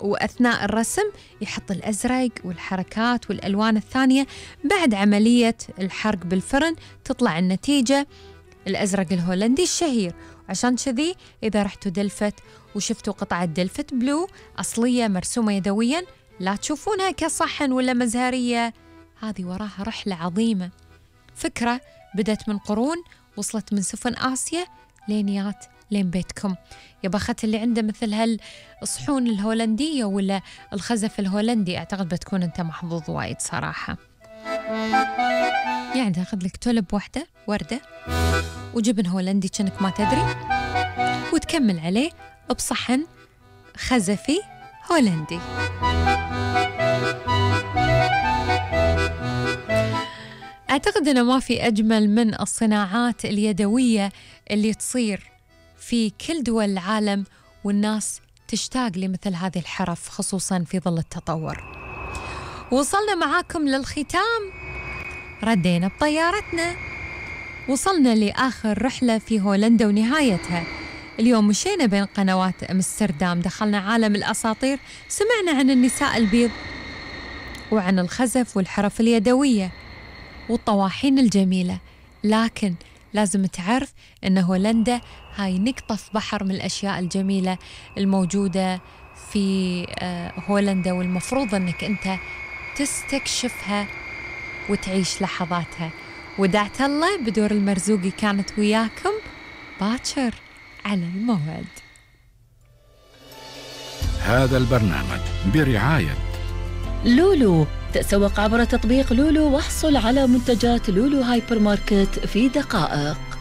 وأثناء الرسم يحط الأزرق والحركات والألوان الثانية. بعد عملية الحرق بالفرن تطلع النتيجة الأزرق الهولندي الشهير. عشان كذي إذا رحتوا دلفت وشفتوا قطعة دلفت بلو أصلية مرسومة يدوياً، لا تشوفونها كصحن ولا مزهرية، هذه وراها رحلة عظيمة. فكرة بدت من قرون، وصلت من سفن آسيا لينيات لين بيتكم. يا بخت اللي عنده مثل هالصحون الهولندية ولا الخزف الهولندي، أعتقد بتكون أنت محظوظ وايد صراحة. يعني تاخذ لك تولب واحدة وردة وجبن هولندي كأنك ما تدري، وتكمل عليه بصحن خزفي هولندي. أعتقد أنه ما في أجمل من الصناعات اليدوية اللي تصير في كل دول العالم، والناس تشتاق لمثل هذه الحرف خصوصاً في ظل التطور. وصلنا معاكم للختام، ردينا بطيارتنا، وصلنا لآخر رحلة في هولندا ونهايتها. اليوم مشينا بين قنوات أمستردام، دخلنا عالم الأساطير، سمعنا عن النساء البيض وعن الخزف والحرف اليدوية والطواحين الجميلة. لكن لازم تعرف أن هولندا هاي نقطة في بحر من الأشياء الجميلة الموجودة في هولندا، والمفروض أنك أنت تستكشفها وتعيش لحظاتها. ودعت الله بدور المرزوقي كانت وياكم باكر على الموعد. هذا البرنامج برعاية لولو. تسوق عبر تطبيق لولو واحصل على منتجات لولو هايبر ماركت في دقائق.